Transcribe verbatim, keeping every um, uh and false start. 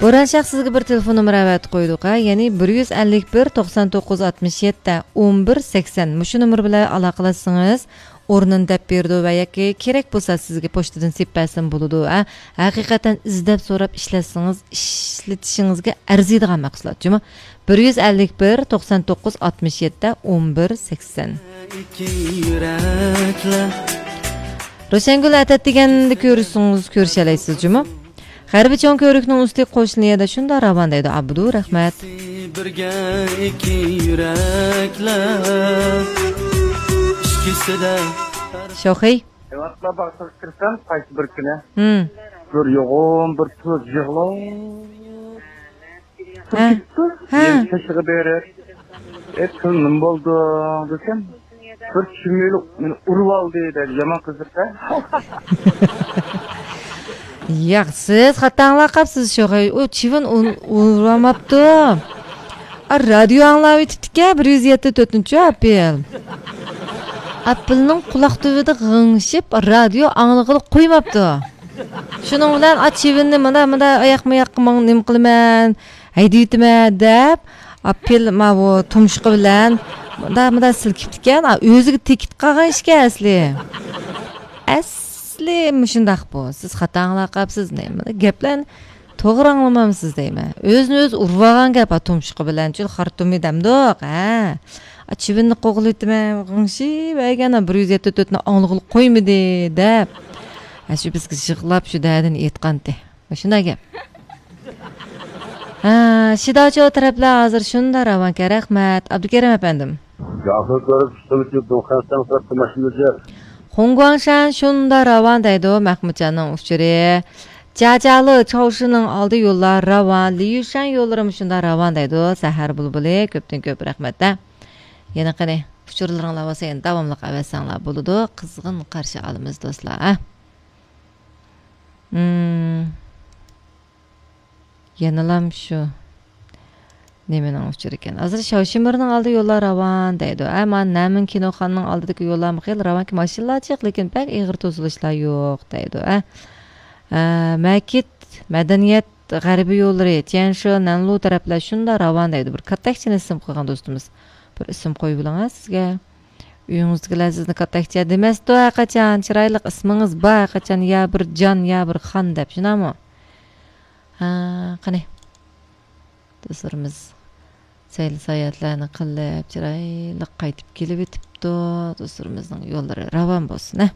بوران شاھ، سىزگە بىر تېلېفون نومۇرى ئەۋەتىپ قويدۇق، ھە، يەنى بىر يۈز ئەللىك بىر، توقسان توققۇز، ئاتمىش يەتتە، ئون بىر، سەكسەن. مۇشۇ نومۇر بىلەن ئالاقىلەشسىڭىز، ئورنىنى دەپ بېرىدۇ ۋە ياكى كېرەك بولسا سىزگە پوچتىدىن سېلىپ بەرسىمۇ بولىدۇ، ھە. ھەقىقەتەن ئىزدەپ سوراپ ئىشلەتسىڭىز، ئىشلىتىشىڭىزگە ئەرزىيدىغان مەھسۇلات جۇمۇ. بىر يۈز ئەللىك بىر، توقسان توققۇز، ئاتمىش يەتتە، ئون بىر، سەكسەن. روشەنگۈل ئەتەت دېگەندە كۆرۈشسىڭىز كۆرۈشەلەيسىز جۇمۇ. غەربىي چوڭ كۆۋرۈكنىڭ ئۈستى قوشنا يەردە شۇنداق راۋان دەيدۇ ئابدۇ، رەھمەت. بىرگە ئىككى يۈرەكلەر ئىچكۈسىدە. شوخەي. ئەۋەتلا باغچىغا كىرسەم، قايسى بىر كۈنى ھىم. بىر يوغان بىر تۇز يىغلاپ ھە. تۇرۇپ كېتىپتۇ. ھە. مېنى چېشىغا بېرىپ، ئە، تۇز، نېمە بولدۇڭ دېسەم، بىر چىۋىن مېنى ئۇرۇپ ئالدى دەيدۇ، يامان قىزىق-دە. ياق، سىز خاتا ئاڭلاپ قاپسىز، شوخەي. ئۇ چىۋىن ئۇ-، ئۇرۇۋالماپتۇ. ئا، رادىيو ئاڭلاۋېتىپتىكەن، بىر يۈز يەتتە تۆتىنچى ئاپېل. ئاپېلنىڭ قۇلاق تۈۋىدە غىڭشىپ، رادىيو ئاڭلىغىلى قويماپتۇ. شۇنىڭ بىلەن، ئا، چىۋىننى مانا، مانا، ئاياقمۇ ياققا ماڭ-، نېمە قىلىمەن، ھەيدىۋېتىمەن دەپ، ئاپېل ماۋۇ تۇمشۇقى بىلەن مۇندا، مۇندا سىلكىپتىكەن، ئا، ئۆزىگە تېگىپ قالغان ئىشكەن ئەسلى. ئەسلى مۇشۇنداق بۇ. سىز خاتا ئاڭلاپ قاپسىز، نېمە گەپلەرنى توغرا ئاڭلىمامسىز دەيمەن. ئۆزىنى ئۆزى ئۇرۇۋالغان گەپ، ھا، تۇمشۇقى بىلەن، چۈل خارتۇمى دەمدۇق، ھە. ئا، چىۋىننى قوغلىۋېتىمەن، غىڭشىۋەرگەن، بىر يۈز يەتتە تۆتنى ئاڭلىغىلى قويمىدى، دەپ. ھە، شۇ بىزگە يىغلاپ شۇ دەردىنى ئېيتقانتى. مۇشۇنداق گەپ. ھە، شىداچو تەرەپلەر ھازىر شۇنداق راۋانكەن، رەھمەت، ئابدۇكېرىم ئەپەندىم. ياخشى كۆرۈپ، ئۈستىمىزگە دۇخەنسەن قىلىپ ماشىنىچە. خۇڭگۇاڭشەن شۇنداق راۋان دەيدۇ، مەخمۇتجاننىڭ ئۇچۇرى. جاجالى چاۋشىنىڭ ئالدى يوللار راۋان، لىيۈشەن يوللىرىمۇ شۇنداق راۋان دەيدۇ، سەھەر بۇلبۇلى، كۆپتىن كۆپ رەھمەت-دە. يەنە قېنى، ئۇچۇرلىرىڭلار بولسا يەنە داۋاملىق ئەۋەتسەڭلار بولىدۇ، قىزغىن قارشى ئالىمىز دوستلار، ھە. مم. يەنىلام شۇ نېمىنىڭ ئۇچۇرى ئىكەن. ھازىر شاۋشىمىرنىڭ ئالدى يوللار راۋان دەيدۇ. ئە، مانا نەمىن كىنوخانىنىڭ ئالدىدىكى يوللارمۇ خېلى راۋانكەن، ماشىنىلار جىق، لېكىن بەك ئېغىر توسۇلۇشلار يوق دەيدۇ. ئە، ئە، مەكىت مەدەنىيەت غەربىي يوللىرى، تيەنشې، نەنلۇ تەرەپلەر شۇنداق راۋان دەيدۇ. بىر كاتتەكچىنى ئىسىم قىلغان دوستىمىز. بىر ئىسىم قويۇۋېلىڭ سىزگە. ئۆيىڭىزدىكىلەر سىزنى كاتتەكچە دېمەستۇ ھەرقاچان. چىرايلىق ئىسمىڭىز بار ھەرقاچان، يا بىر جان، يا بىر خان دەپ، شۇنداقمۇ؟ ھە، قېنى. دوستلىرىمىز سەيلە ساياھەتلەرنى قىلىپ، چىرايلىق قايتىپ كېلىۋېتىپتۇ. دوستلىرىمىزنىڭ يوللىرى راۋان بولسۇن، ھە.